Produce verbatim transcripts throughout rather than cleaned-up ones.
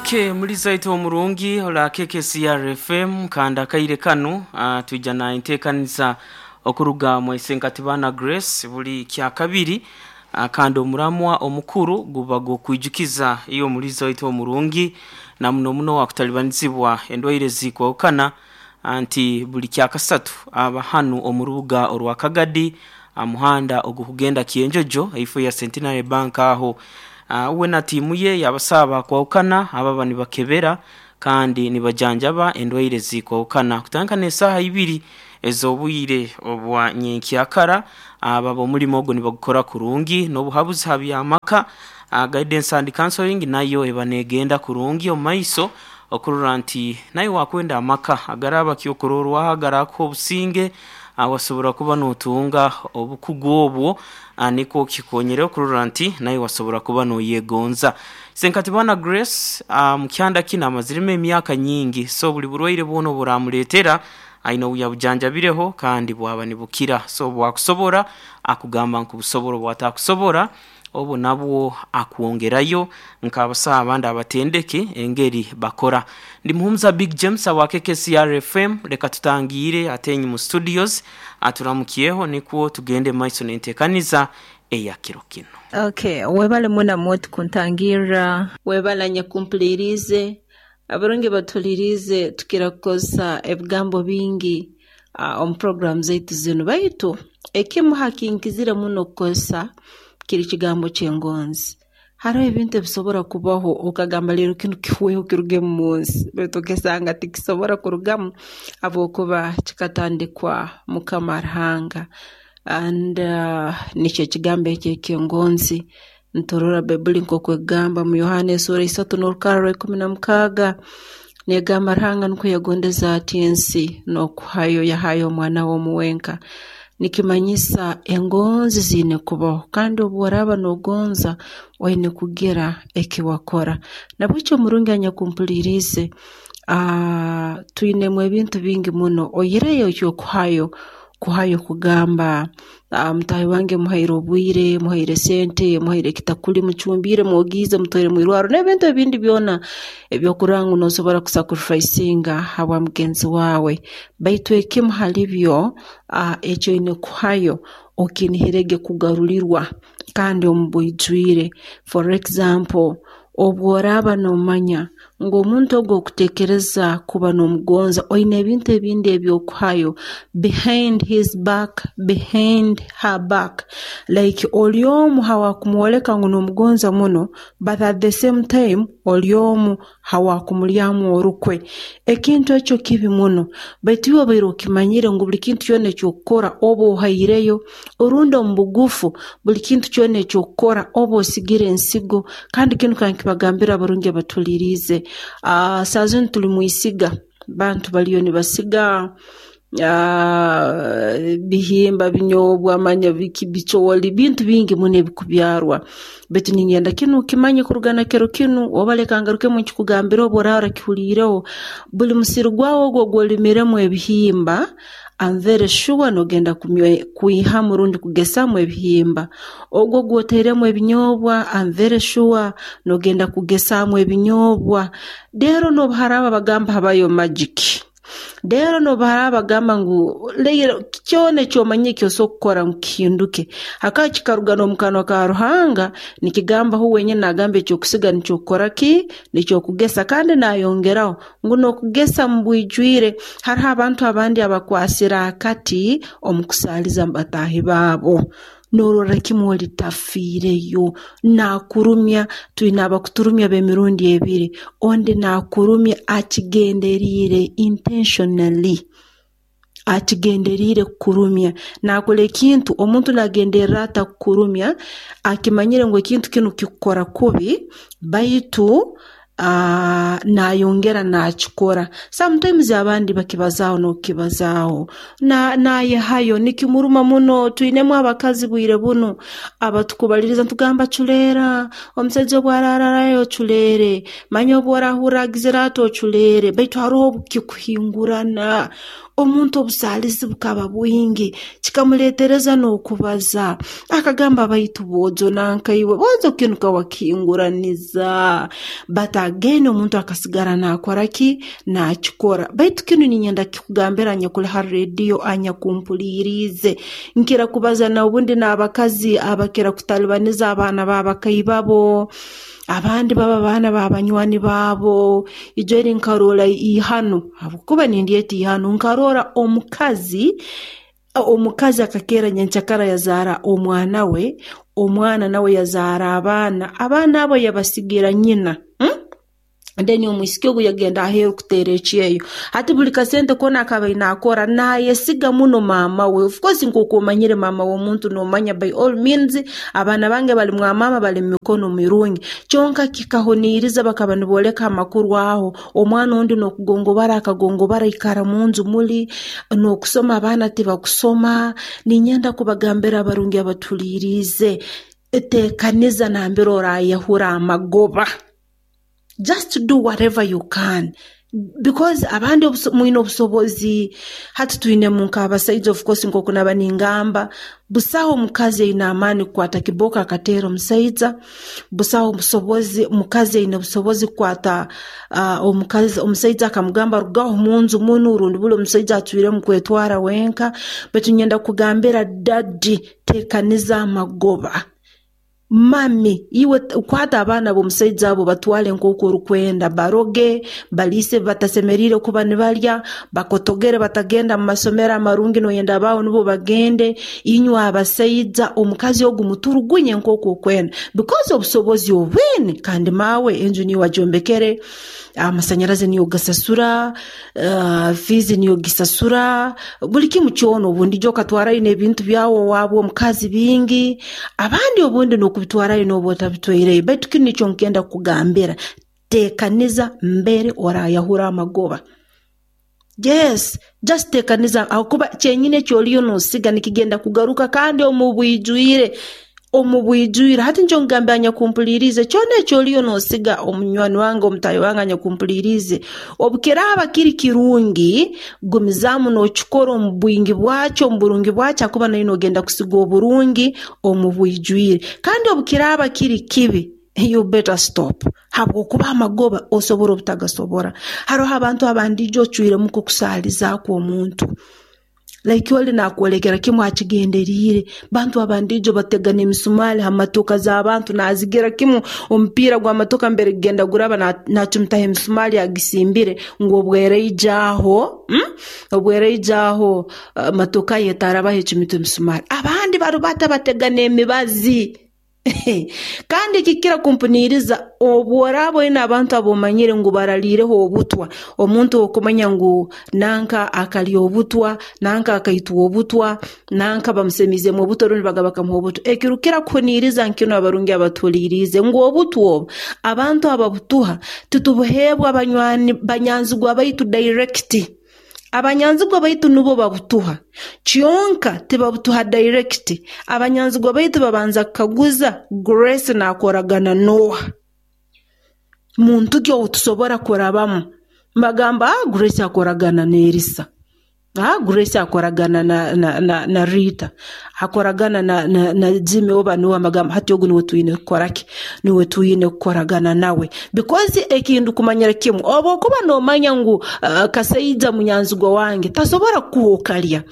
Okay, muliza itu omurungi ola K K C R F M kanda kaire kanu uh, tuija na intekanisa okuruga mwesenkatibana Grace buli kya kabiri uh, kanda omuramwa omukuru guba gokwijukiza iyo muliza itu omurungi na muno muno wakutalibanizibwa endwaire zikwokana anti buli kya kasatu abahanu omurubuga orwa Kagadi amuhanda ogukugenda Kienjojo ifo ya Centenary Bank aho. Uh, uwe na timu ye yabasaba kwawukana ababa nibakebera kandi nibajanjaba endwaire zikwawukana kutandika n'esaaha ibiri ez'obwire obwa nyenkyakara ababa omulimo ogwo nibagukora kurungi n'obuhabuzi ha by'amaka. uh, guidance and counseling nayo eba negenda kurungi omu maiso okurora nti nayo wakwenda amaka agaraba kyokurorwaho agarako obusinge wasobora kuba notunga obukugu obwo niko kikonyere okurora nti nayo wasobora kuba noyegonza. Senkatibana Grace mukyanda kina amazirime emyaka nyingi, so buli burwaire bwono buramuletera aina obujanjabireho kandi bwaba nibukira, so bwakusobora akugamba nkubusobora bwatakusobora obo nabwo akuongerayo nk'abasaha abandi abatendeke engeri bakora. Ndi Muhumuza Big James wa K K C R F M, reka tutangire atenyi mu studios aturamukiyeho nikwo tugende maiso n'entekaniza eya kiro kino. Okay, webale muna mwotu kuntangira, webale nyakumpulirize, abarungi batulirize tukira kukozesa ebigambo bingi uh, omu program zaitu zinu, baitu ekimu hakinkizire muno kukozesa kiri kigambo ky'engonzi. Hariho ebintu ebisobora kubaho okagamba leero kinu kihweho kiruge mu nsi, baitu okesanga tikisobora kurugamu habwokuba kikatandikwa Mukama Ruhanga. And uh, nikyo ekigambo ekyo eky'engonzi. Nturora Baibuli nk'oku egamba mu Yohana esura isatu n'orukara rwa ikumi na mukaaga, negamba Ruhanga nukwo yagondeza ati ensi n'okuhayo yahayo omwana we omuwenka. Nikimanyisa engonzi ziine kubaho, kandi obu oraba nogonza oine kugira eki wakora. Nabwekyo omurungi anyakumpulirize, uh, twinemu ebintu bingi muno oyireyo ekyokuhayo kuhayo kugamba uh, mutahi wange muhaire obwire, muhaire sente, muhaire ekitakuli, mucumbire, mwogize, mutwaire mwirwaro n'ebintu ebindi byona ebyokurora ngu nosobora kusacrificinga habwa mugenzi wawe. Baitu ekimu hali byo uh, ekyo oine kuhayo okinihirege kugarulirwa kandi omu bwijwire. For example, obu oraba nomanya ngu omuntu ogwo okutekereza kuba n'omugonza, oine ebintu ebindi ebyokuhayo behind his back, behind her back, like oli omu hawakumwoleka ngu n'omugonza muno, but at the same time oli omu hawakumulyamu orukwe. Ekintu ekyo kibi muno, baitu iwe obaire okimanyire ngu buli kintu kyona ekyokukora oba ohaireyo, orundi omu bugufu buli kintu kyona ekyokukora oba osigire ensigo. Kandi kinu kankibagambira abarungi abatulirize, uh, saa zinu tuli mwisiga, bantu baliyo nibasiga uh, bihimba, binyobwa, manya biki, bicooli, bintu bingi muno ebikubyarwa. Baitu ningenda kinu kimanye kurugana kero kinu oba leka ngarukemu nkikugambire obu oraba orakihuliireho, buli musiri gwawe ogwo ogwolimiremu ebihimba, I'm very sure nogenda kwihamu rundi kugesamu ebihimba. Ogwo gwoteiremu ebinyobwa, I'm very sure nogenda kugesamu ebinyobwa. Rero nobu haraba bagamba habayo magic, rero nobu haraba bagamba ngu leero kyona ekyomanyire ekyosobola kukora ngu kihinduke, hakaba kikaruga n'omu kanwa ka Ruhanga nikigamba hu wenyini nagamba ekyokusiga nikyokukora ki, nikyokugesa, kandi nayongeraho ngu n'okugesa mu bwijwire. Hariho abantu abandi abakwasire akati omu kusaaliza bataahi baabo, norora kimu oli tafiireyo, nakurumya. Twine abakuturumya b'emirundi ebiri, ondi nakurumya akigenderiire intentionally, akigenderiire kukurumya, nakora ekintu omuntu nagenderera ata kukurumya akimanyire ngu ekintu kinu kikukora kubi, baitu uh, nayongera nakikora. Sometimes abandi bakibazaaho n'okukibazaaho na nayehayo nikimuruma muno. Twinemu abakazi bwire bunu abatukubaliriza ntugamba culeera, omusaija obu arararayo oculeere, manya obu orahurra agizire ati oculeere, baitu haroho obukikuhingurana. Omuntu obusaalizi bukaba bwingi, kikamuleetereza n'okubaza. Akagamba, baitu bwojo nankaiwe, bwojo kinu kawakihinguraniza. But again omuntu akasigara naakora ki? Naakikora. Baitu kinu ninyenda kikugambira anyakuli ha rediyo anyakumpuliriize. Nkira kubaza na obundi n'abakazi abakira kutalibaniza abaana b'abakaibabo, abandi baba baana b'abanywani baabo. Ijo eri nkaroora ihano, habwokuba nindyeta ihano, nkaroora omukazi omukazi akakeera nyenkyakara yazaara omwana we, omwana nawe yazaara abaana, abaana abo yabasigira nyina. Hmm? Then omwisiki ogu yagenda aheeru kuteera ekyeyo. Hati buli kasente koona akaba aine akora naayesiga muno maama we. Of course nk'oku omanyire maama w'omuntu noomanya by all means abaana bange bali mwa maama, bali mu mikono mirungi. Kyonka kikahuniiriza, bakaba nibooleka amakuru aho. Omwana ondi n'okugongobara akagongobara aikara munju muli, n'okusoma abaana tibakusoma. Ninyenda kubagambira abarungi abatuliiriize, teekaniza nambere oraayahura amagoba. Just do whatever you can, because abandi mwine obusobozi. Hati twinemu nk'abasaija, of course nk'oku naba ningamba, busaho omukazi aine amaani kukwata kibooko akateera omusaija, busaho obusobozi mukazi aine obusobozi kukwata uh, omukazi omusaija akamugamba rugaho munju munu, rundi buli omusaija acwiremu kwetwara wenka. Baitu nyenda kugambira daddy, teekaniza amagoba. Mami, iwe kwata abaana b'omusaija abo batwale nk'oku orukwenda, baroge, baliise batasemeriire kuba nibalya, bakotogere batagenda mu masomero amarungi, noyenda abaawe nibo bagende. Inywe abasaija, omukazi ogu muturugunye nk'oku okwenda, because obusobozi obwine, kandi maawe enju niiwe agyombekere, amasanyarazi niyo gasasura, uh, fiizi niyo gisasura, buli kimu kyona. Obundi ijo okatwarayo n'ebintu byawe owaabwe omukazi bingi, abandi obundi n'okubitwarayo n'oba otabitwaireyo. Baitu kinu nikyo nkenda kukugambira, teekaniza mbere oraayahura amagoba. Yes, just teekaniza, ahakuba kyenyini ekyoliyo noosiga nikigenda kugaruka kandi omu bwijwire, omu bwijwire. Hati nikyo nkugambira anyakumpuliriize, kyona ekyoliyo noosiga omunywani wange, omutaahi wange anyakumpuliriize, obu kiraaba kiri kirungi, gumizaamu nookikora omu bwingi bwakyo, omu burungi bwakyo, ahakuba naiwe noogenda kusiga oburungi omu bwijwire. Kandi obu kiraaba kiri kibi, you better stop, habwokuba amagoba osobora obutagasobora. Haroho abantu abandi ijo ocwiremu kukusaalizaakwo omuntu, like oli naakwolekera kimu akigenderiire. Bantu abandi ijo batega n'emisumaali ha matoka z'abantu, naazigira kimu omupiira gw'amatoka mbere gugenda guraba naacumitaho emisumaali agisimbire ngu obweraija aho, hmm? obweraija aho uh, matoka ye etarabaho ecumita emisumaali. Abandi barubata batega n'emibazi. Kandi kikira kumpuniiriza, obu oraaba oine abantu ab'omanyire ngu baraliireho obutwa, omuntu okumanya ngu nanka akalya obutwa, nanka akaitwa obutwa, nanka bamusemiizeemu obutwa rundi bagaba bakamuha obutwa. Ekirukira kuhuniiriza nkinu abarungi abatuhuliiriize ngu obutwa obu abantu ababutuha titubuheebwa banywani banyanzigwa baitu direct. Abanyanzigwa baitu nubo babutuha, kyonka tibabutuha direct. Abanyanzigwa baitu babanza kukaguza, Grace naakoragana n'oha? Muntu ki ou tusobora kurabamu? Mbagamba, ah, Grace akoragana n'Erisa. Ah, Grace akoragana na, na, na, na Rita, akoragana na, na, na Jimmy oba nuwe. Amagamba hati ogu niwe twine kukora ki? Niwe twine kukoragana nawe, because ekintu kumanyira kimu, oba okuba noomanya ngu uh, kasaija munyanzigwa wange tasobora kukuha okalya,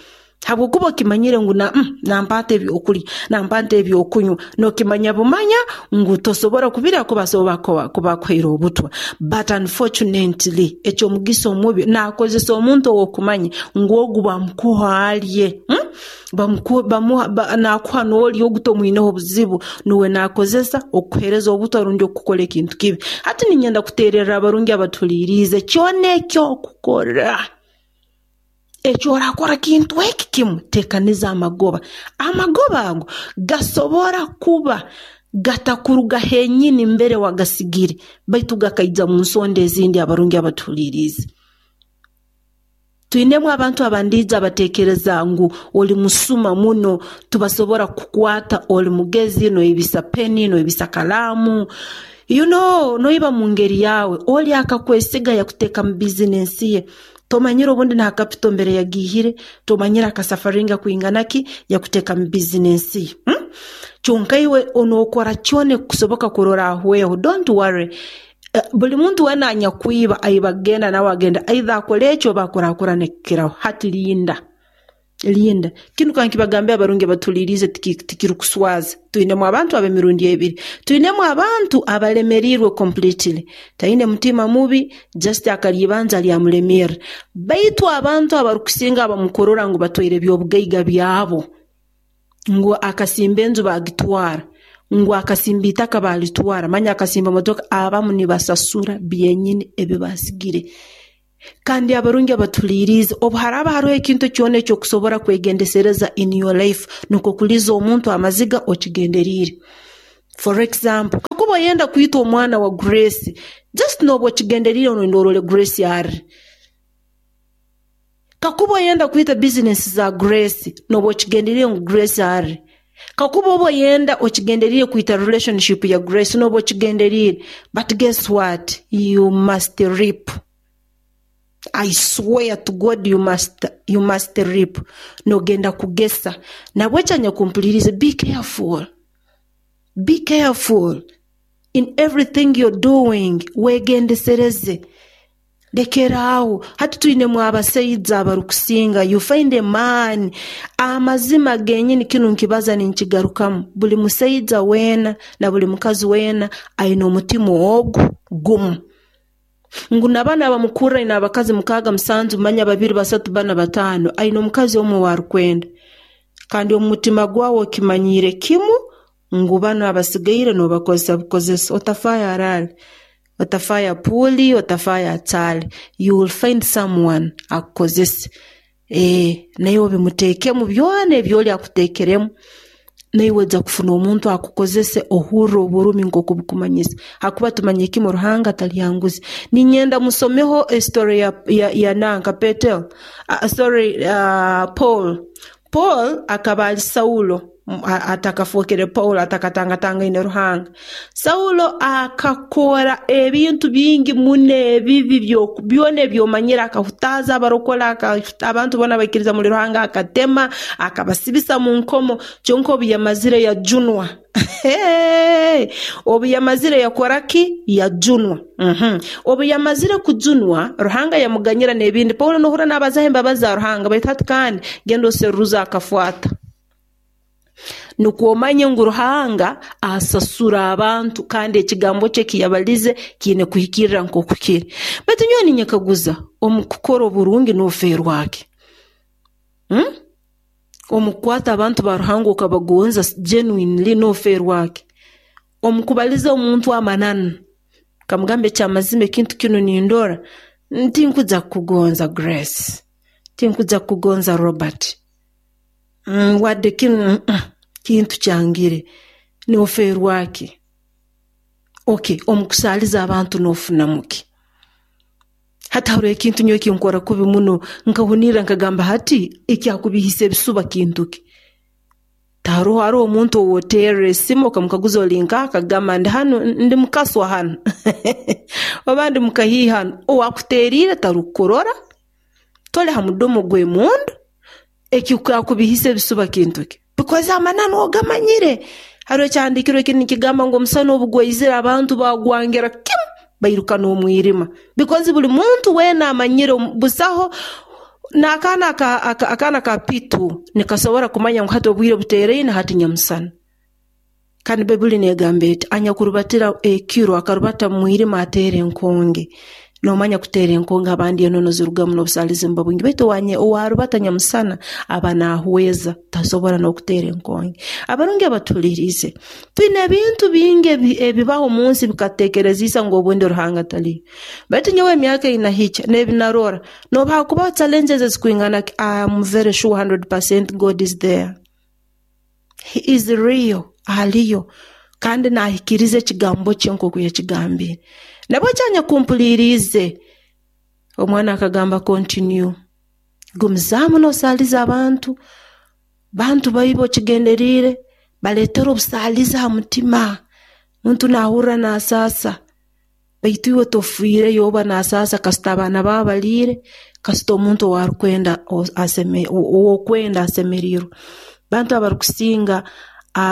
habwokuba okimanyire ngu na, mm, nampaata ebyokulya, nampaata ebyokunywa, nookimanya bumanya ngu tosobora kubirya kuba asobora kuba akuhaire obutwa. But unfortunately eky'omugisa omubi, naakozesa omuntu ow'okumanya ngu ogu bamukuha alye, hmm? bamuku, bamuha, ba, naakuha n'olya, ogu tomwineho obuzibu, nuwe naakozesa okukuheereza obutwa rundi okukora ekintu kibi. Hati ninyenda kuteererra abarungi abatuhuliiriize, kyona eky'okukora, ekyorakora kintu eki kimu, teekaniza amagoba. Amagoba ago gasobora kuba gatakuruga henyini mbere wagasigire, baitu gakaija mu nsonda ezindi. Abarungi abatuhuliiriize, twinemu abantu abandiija abateekereza ngu oli musuma muno, tubasobora kukukwata, oli mugezi, noibisa peni, noibisa kalaamu, you know, noiba mu ngeri yawe, oli akakwesiga yakuteeka mu bizinensi ye. Tomanyire obundi na capital mbere yagihire, tomanyire akasafaringa kwinganaki yakuteka mu business. Hmm? Kyonka iwe onokora kyone kusoboka kurora ahweho. Don't worry. Uh, buli muntu wena anyakwiba aiba genda nawe agenda either akole ekyo oba akurakurane kukiraho. Hati linda. Linda. Kinu kankibagambia abarungi batulirize tikirukuswaza. Twinemu abantu ab'emirundi ebiri. Twinemu abantu abalemerirwe completely. Taine mutima mubi, just akalibanza lyamulemera. Baitu abantu abarukusinga abamukurora ngu batwaire ebyobugaiga byabo. Ngu akasimba enju bagitwara. Ngu akasimba itaka balitwara. Manya akasimba motoka, abamu nibasasura byenyini ebibasigire. Kandi abarungi abatulirize, obu haraba hariho ekintu kyona ekyokusobora kwegendesereza in your life, nukwo kuliza omuntu amaziga okigenderire. For example, kakuba oyenda kwita omwana wa Grace, just noba okigenderire noyenda orole Grace ari. Kakuba oyenda kwita business za Grace, noba okigenderire ngu Grace ari. Kakuba oba oyenda okigenderire kwita relationship ya Grace, noba okigenderire. But guess what? You must reap. I swear to God you must, you must reap. Nogenda kugesa. Nabwecha nyakumpulirize, be careful. Be careful in everything you're doing. Wegendesereze. Lekeraawo. Hati twinemu abasaija abarukusinga. You find a man. Amazima genyini kinu nkibaza ninkigarukamu. Buli musaija weena na buli mukazi weena aine omutima ogu gumu. Ngu nabana abamukura ina abakazi mukaaga musanju manya babiri basatu bana batano aine omukazi omwe warukwenda. Kandi omutima gwawe okimanyire kimu ngu bano abasigaire nobakozesa bukozesa. Otafaya arale, otafaya puli, otafaya atale. You will find someone akukozese. Eh, naye obimuteekemu byona ebyoli akuteekeremu. Naiwe ojja kufuna omuntu akukozese ohurra oburumi nk'oku bukumanyisa. Hakuba tumanye kimu Ruhanga talyanguzi. Ninyenda musomeho story ya, ya, ya nanka Petel. Uh, sorry, uh, Paul. Paul akaba ali Saulo atakafukire Paul atakatangatangaine Ruhanga. Saulo akakora ebintu bingi muno ebibi byona ebyomanyire, akahutaza abarokora, abantu bona baikiriza muri Ruhanga, akatema, akabasibisa mu nkomo. Kyonka obu yamazire yajunwa. Hey! Obu yamazire yakora ki? Yajunwa. Mhm. Obu yamazire kujunwa, Ruhanga yamuganyira n'ebindi. Paulo nohura n'abazaho embabazi za Ruhanga, baitu hati kandi genda oseruza akafuata. Nukwo omanye ngu Ruhanga asasura abantu kandi ekigambo kye kiyabalize kiine kuhikirira nk'oku kiri. Baitu nyowe ninyekaguza, omu kukora oburungi n'ofeerwaki? Hmm? Omu kukwata abantu ba Ruhanga okabagonza genuinely n'ofeerwaki? Omu kubaliza omuntu amananu, kamugamba ekyamazima ekintu kinu nindora, tinkuja kukugonza Grace, tinkuja kukugonza Robert. Mm, wadde kinu mm, kintu kyangire, n'ofeerwaki? Okay, omu kusaaliza abantu n'ofunamuki? Hati hariho ekintu nyowe kinkora kubi muno, nkahunirra nkagamba hati ekyakubihisa ebisuba kintu ki? Taroho hariho omuntu owoterra esimu okamukaguza oli nkaha, akagamba ndi hanu, ndi mukaswa hanu oba ndi mukahiihi hanu. Owakuteriire tarukukurora, toli ha mudomo gw'emundu, ekyakubihisa ebisuba kintu ki? Because amananu ogamanyire. Hariho ekyahandiikirwe kinu nikigamba ngu omusana obu gwaizire abantu bagwangira kimu bairuka n'omwirima. Because buli muntu weena amanyire busaho n'akaana aka, aka, akaana ka pitu nikasobora kumanya ngu hati obwire buteeraine hati nyamusana. Kandi Baibuli negamba eti anyakurubatira ekiro akarubata mu mwirima ateera enkonge. Nomanya kuteera enkonge abandi enono zirugamu n'obusaalizi buba bwingi, baitu owarubata nyamusana aba naahweza tasobora n'okuteera enkonge. Abarungi abatulirize, twine ebintu bingi ebibaho omu nsi bikateekerezisa ngu obundi Ruhanga taliyo. Baitu nyowe emyaka einahikya n'ebinarora, nobu hakubaho challenges ezikwingana ki, I am very sure one hundred percent God is there. He is real, aliyo. Kandi nahikiriza ekigambo kye nk'oku yakigambire. Nabwo kyanyakumpuliriize, omwana akagamba continue. Gumizaamu n'osaaliza abantu, bantu baibe okigenderiire, baleetera obusaalizi ha mutima. Muntu naahurra naasaasa. Baitu iwe tofiireyo oba nasaasa kasita abaana baawe baliire, kasita omuntu owaarukwenda aseme ow'okwenda asemeriirwe. Bantu abarukusinga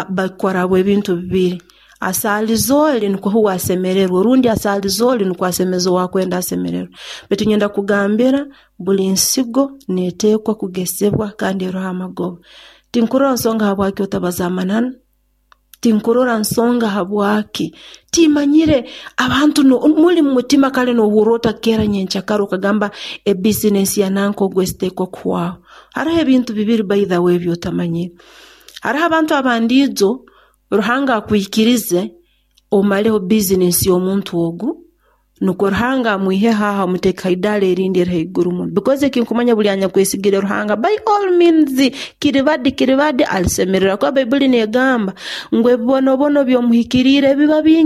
bakora habw'ebintu bibiri. Asaaliza oli nukwo huwe asemererwe rundi asaaliza oli nukwo asemeze owaakwenda asemererwe. Baitu nyenda kugambira buli nsigo neetekwa kugesebwa kandi eroho amagoba. Tinkurora nsonga habwaki otabaza amananu, tinkurora nsonga habwaki, timanyire abantu muli mu mutima kale noohurra otakeera nyenkyakara okagamba ebizinesi ya nanka ogu esiteekwa kuhwaho. Haroho ebintu bibiri by the way ebi otamanyire. Haroho abantu abandiijo Ruhanga akwikirize omaleho bizinesi y'omuntu ogu nukwo Ruhanga amwiheho aho amuteeke ha idaara erindi eri haiguru muno, because ekinkumanya buli anyakwesigire Ruhanga by all means kiribadi kiribadi alisemererwa, kuba Baibuli neegamba ngu ebibonobono by'omuhikiriire biba bingi.